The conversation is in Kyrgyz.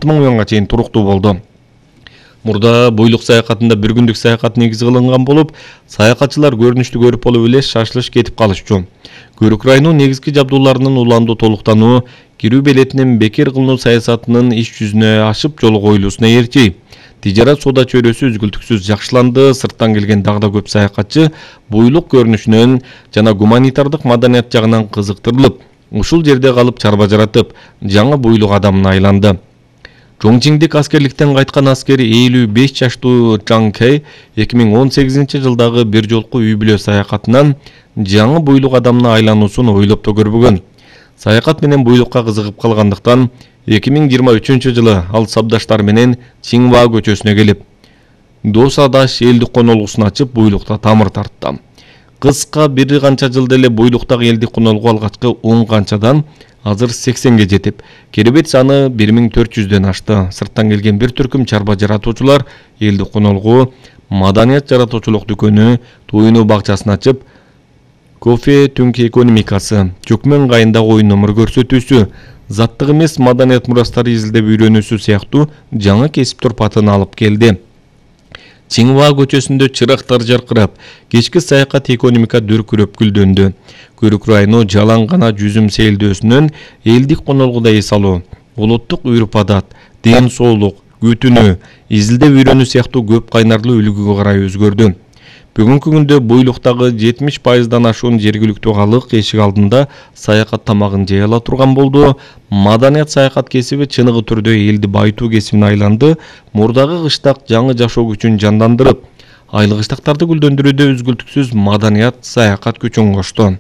2000 чейин туруктуу болду. Мурда буйлук саякатында бир күндүк саякат негизи кылынган болуп, саякатчылар көрүнүштү көрүп болуп эле шашылыш кетип калышчу. Көрүк районунун негизги жабдууларынын уламдуу толуктануу кирүү билетинин бекер кылынуу саясатынын иш жүзүнө ашып жолу коюлуусуна ээрчи. Тижарат соода чөйрөсү үзгүлтүксүз жакшыланды. Сырттан келген дагы да көп саякатчы буйлук көрүнүшүнөн жана гуманитардык маданият жагынан кызыктырылып, ушул жерде калып чарба жаратып, жаңы буйлук адамына айланды. Чоңчиңдик аскерликтен кайткан аскер 55 жаштуу Чан Кэй 2018 жылдагы бир жолку үй бүлө саякатынан жаңы буйлук адамына айлануусун ойлоп да көрбөгөн. Саякат менен буйлукка кызыгып калгандыктан 2023 жылы ал сабдаштары менен Чиңва көчөсүнө келип, Досадаш элдик конолгусун ачып, буйлукта тамыр тартты. Кыска бир канча жылда эле буйлуктагы элдик конолгу алгачкы 10 канчадан азыр 80ге жетип, керебет саны 1400дөн ашты. Сырттан келген бир түркүм чарба жаратуучулар элдик конолгу, маданият жаратуучулук дүкөнү, туйнуу бакчасын ачып, кофе түнкү экономикасы, чөкмөн кайындагы оюн номер көрсөтүүсү, заттык эмес маданият мурастары изилдеп үйрөнүүсү сыяктуу жаңы кесип турпатын алып келди. Чиңва көчөсүндө чырактар жаркырап, кечки саякат экономика дүркүрөп гүлдөндү. Көрүк району жалаң гана жүзүм сейилдөөсүнөн элдик конолгуда эс алуу, улуттук үрп-адат, ден соолук, күтүнүү, изилдеп үйрөнүү сыяктуу көп кайнарлуу үлгүгө карай өзгөрдү. Бүгүнкү күндө буйлуктагы 70%дан ашуун жергиликтүү калык эшик алдында саякат тамагын жей ала турган болду. Маданият саякат кесиби чыныгы түрдө элди байытуу кесибине айланды. Мурдагы кыштак жаңы жашоо күчүн жандандырып, айлык кыштактарды гүлдөндүрүүдө үзгүлтүксүз маданият саякат күчүн кошту.